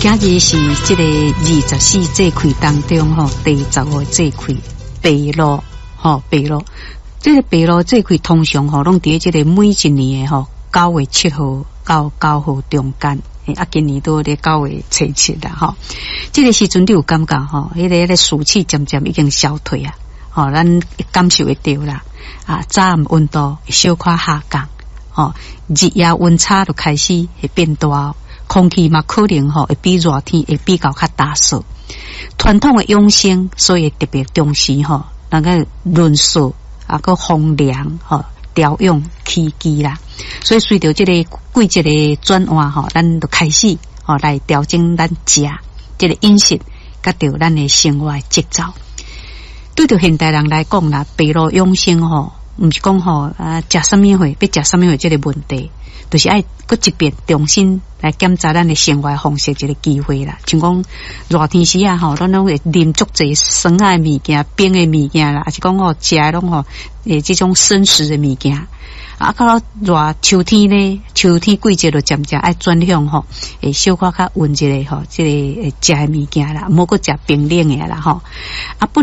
今日是這個二十四節氣當中吼第15個節氣白露吼白露。這個白露節氣通常吼攏佇這個每一年的吼9月7號到9號中間。啊，今年拄咧9月初7啦吼。這個時陣你有感覺吼，彼個暑氣漸漸已經消退啊，吼，咱感受會著啦。啊，早暗溫度小可下降，吼，日夜溫差就開始會變大。空氣嘛，可能吼會比熱天會比較較乾燥。傳統的養生，所以特別重視吼，那個潤燥啊，閣風涼吼，調養起居啦。所以隨著這個季節的轉換吼，咱就開始吼來調整咱食這個飲食，佮著咱的生活節奏。對著現代人來講啦，白露養生吼，毋是講吼啊食啥物貨，欲食啥物貨這個問題。就是愛閣一遍重新來檢查咱的生活方式一個機會啦。像講熱天時啊吼，咱攏會啉足濟酸的物件、冰的物件啦，抑是講吼食的攏吼這種生食的物件。啊，到熱秋天呢，秋天季節就漸漸愛轉向吼，會小可較溫一下吼，這個食的物件啦，毋好閣食冰冷的啦吼。啊，本來。